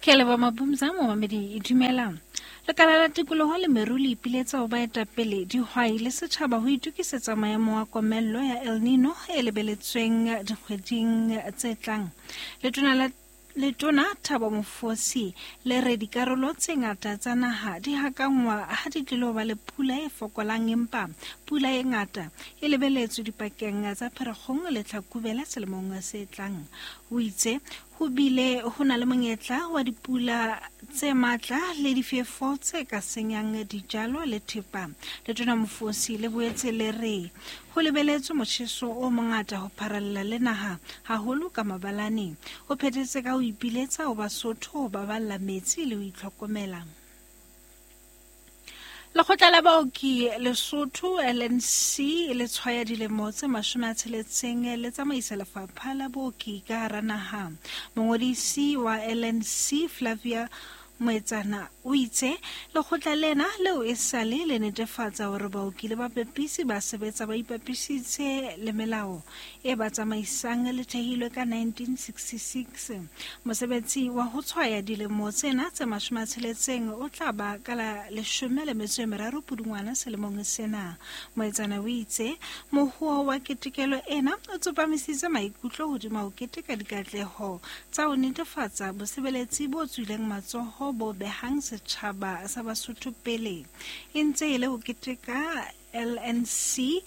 Ke a leboha Mabumza, momamedi dumelang. Lekala la tikoloho le meru le ipiletsa ho baetapele, dihwai le setjhaba ho itokisetsa maemo a komello ya El Nino e lebeletsweng dikgweding tse tlang. Letona la Letona Thabo Mofosi le re dikarolo tse ngata tsa naha di hakangwa ha di tlilo ba le pula e fokolang empa pula e ngata e lebeletswe dipakeng tsa Pherekgong le Tlhakubele selemong se tlang. O itse Ho bile ho na le monyetla wa dipula tse matla le difefo tse ka senyang dijalo le thepa. Letona Mofosi le boetse le re ho lebeletswe motjheso o mongata ho pharalla le naha, haholo ka mabalane. O phethetse ka ho ipiletsa ho Basotho ho baballa metsi le ho itlhokomela. Lekgotla la baoki Lesotho LNC le tshwaya dilemo tse 60 le tsamaisa lefapha la booki ka hara naha. Mongodisi wa LNC Flavia Moetsana o itse lekgotla lena leo e sale le netefatsa hore baoki le bapepisi ba sebetsa ba ipapisitse le melao e ba tsamaisang le thehilwe ka 1966. Mosebetsi wa ho tshwaya dilemo tsena tse 60 o tla ba ka la 13 Pudungwana selemong sena. Moetsana o itse mohoa wa ketekelo ena o tsopamisitse maikutlo hodima ho keteka dikatleho tsa ho netefatsa bosebeletsi bo tswileng matsoho bo behang setjhaba sa Basotho pele. E ntse e le ho keteka LNC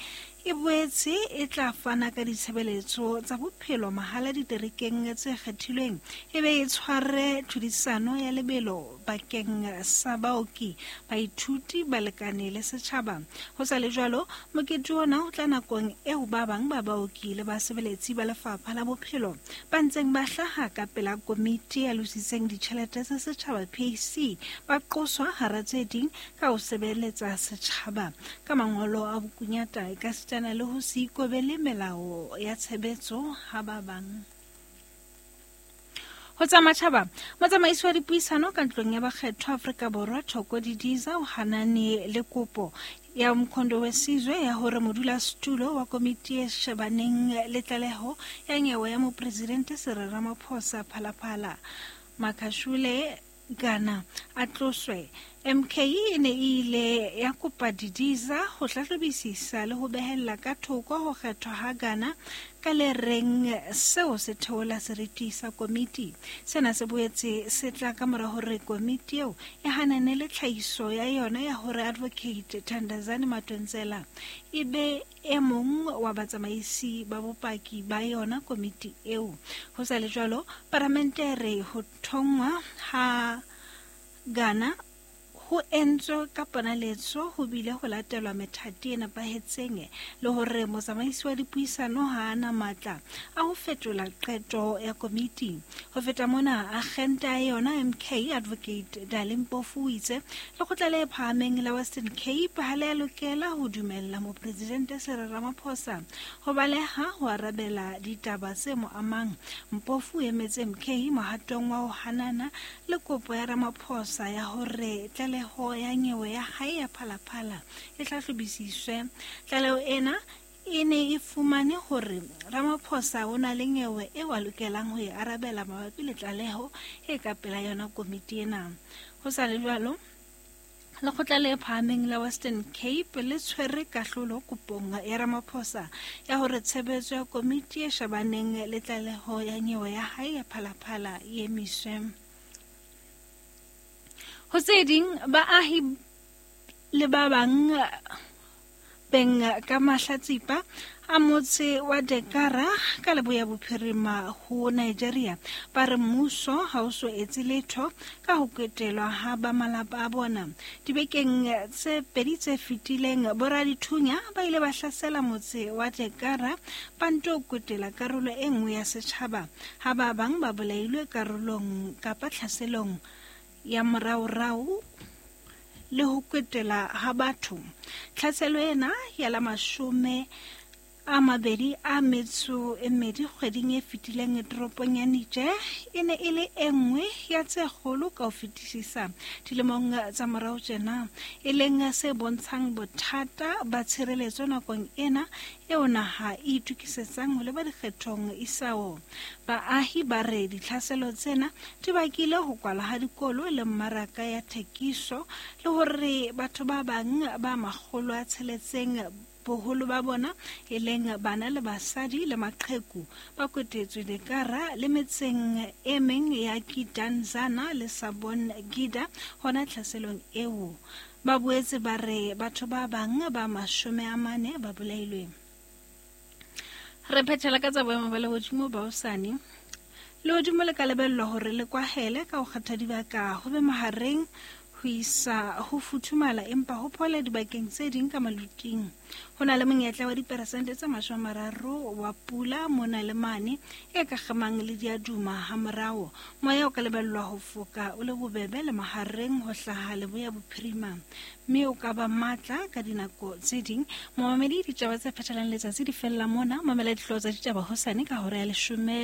e boetse e tla fana ka ditshebeletso tsa bophelo mahala diterekeng tse kgethilweng e be e tshware tlhodisano ya lebelo bakeng sa baoki, baithuti, balekane le setjhaba. Ho sa le jwalo, mokete ona o tla nakong eo ba bang ba baoki le basebeletsi ba lefapha la bophelo ba ntseng ba hlaha ka pela komiti ya lositseng ditjhelete tsa setjhaba PAC ba qoswa hara tse ding ka ho sebeletsa setjhaba ka mangolo a bokunyata ekasitana le ho se ikobele melao ya tshebetso ha ba bang. Ho tsa matjhaba, motsamaisi wa dipuisano ka ntlong ya bakgethwa Afrika Borwa Thoko Didiza o hanane le kopo ya Umkhonto weSizwe ya hore modulasetulo wa komiti e shebaneng le tlaleho ya nyewe ya mopresidente Cyril Ramaphosa Phalaphala Makashule Gana a tloswe. MK e ne e ile ya kopa Didiza ho hlahlobisisa le ho behella ka thoko ho kgethwa ha Gana ka le reng seo se theola seriti sa komiti. Sena se boetse se tla ka mora hore komiti eo e hanane le tlhahiso ya yona ya hore Advocate Thandazani Madonsela e be e mong wa batsamaisi ba bopaki ba yona komiti eo. Ho sa le jwalo, paramente e re ho thonngwa ha Ghana ho entswe ka ponaletso ho bile ho latelwa methati e nepahetseng le hore motsamaisi wa dipuisano ha a na matla a ho fetola qeto ya komiti. Ho feta mona, akgente ya yona MK Advocate Dali Mpofu o itse lekgotla le phahameng la Western Cape ha le a lokela ho dumella mopresidente Cyril Ramaphosa ho baleha ho arabela ditaba tse mo amang. Mpofu o emetse MK mohatong wa ho hanana le kopo ya Ramaphosa ya hore tlaleho ya nyewe ya hae ya Phalaphala e hlahlobisiswe. Tlaleho ena e ne e fumane hore Ramaphosa o na le nyewe eo a lokelang ho e arabela mabapi le tlaleho e ka pela yona komiti ena. Ho sa le jwalo, lekgotla le phahameng la Western Cape le tshwere kahlolo kopong ya Ramaphosa ya hore tshebetso ya komiti e shebaneng le tlaleho ya nyewe ya hae ya Phalaphala e emiswe. Ho tse ding, baahi le ba bang beng ka mahlatsipa a motse wa Dekara ka leboya bophirima ho Nigeria ba re mmuso ha o so etse letho ka ho ketelwa ha ba malapa a bona. Dibekeng tse pedi tse fetileng, boradithunya ba ile ba hlasela motse wa Dekara ba nto kwetela karolo e nngwe ya setjhaba ha ba bang ba bolailwe karolong kapa tlhaselong ya moraorao le ho kwetela ha batho. Tlhaselo ena ya la mashome a 22 kgweding e fetileng toropong ya Niger e ne e le e nngwe ya tse kgolo ka ho fetisisa dilemong tsa morao tjena, e leng se bontshang bothata ba tshireletso nakong ena eo naha e itokisetsang ho leba dikgethong isao. Baahi ba re ditlhaselo tsena di bakile ho kwala ha dikolo le mmaraka ya thekiso le hore batho ba bang ba 600 boholo ba bona e leng bana le basadi le maqheku ba kwetetswe Dekara le metseng e meng ya Kidanzana le Sabon Gida hona tlhaselong eo. Ba boetse ba re batho ba bang ba 40 ba bolailwe. Re phethela ka tsa boemo ba lehodimo ba hosane. Lehodimo le ka lebellwa hore le kwahele ka ho kgetha dibaka ho be mahareng ho isa ho futhumala empa ho phole dibakeng tse ding ka maluting. Ho na le monyetla wa diperesente tse 30 wa pula mona le mane e ka kgemang le diaduma ha morao. Moya o ka lebellwa ho foka o le bobebe le mahareng ho hlaha leboya bophirima, mme o ka ba matla ka dinako tse ding. Momamedi, ditaba tse phethelang letsatsi di fella mona. Mamela dihlooho tsa ditaba hosane ka hora ya 10.